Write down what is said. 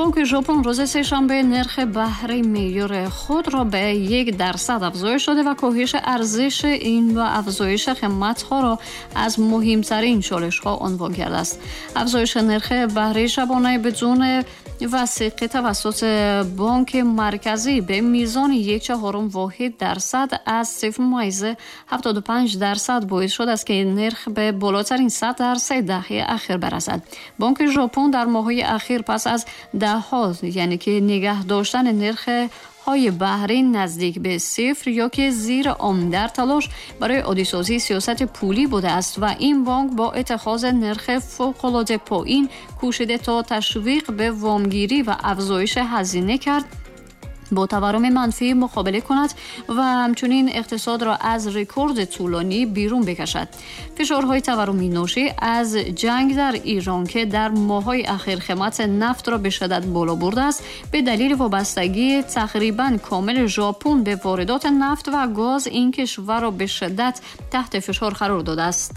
بانک ژاپن روز سه‌شنبه نرخ بهره معیار خود را به 1% افزایش داده و کاهش ارزش این و افزایش قیمت‌ها را از مهمترین چالش‌ها عنوان کرده است. افزایش نرخ بهره شبانه بدون وثیقه توسط بانک مرکزی به میزان 1.25 واحد درصد از 0.75% باعث شده است که نرخ به بالاترین سطح در 3 دهه اخیر برسد. بانک ژاپن در ماه‌های اخیر پس از ده‌ها، یعنی که نگه داشتن نرخ های بهره نزدیک به صفر یا که زیر آن، در تلاش برای عادی‌سازی سیاست پولی بوده است و این بانک با اتخاذ نرخ فوق‌العاده پایین کوشیده تا تشویق به وامگیری و افزایش هزینه کرد، با تورم منفی مقابله کند و همچنین اقتصاد را از رکورد طولانی بیرون بکشد. فشارهای تورمی ناشی از جنگ در ایران که در ماه‌های اخیر قیمت نفت را به شدت بالا برده است، به دلیل وابستگی تقریباً کامل ژاپن به واردات نفت و گاز این کشور را به شدت تحت فشار قرار داده است.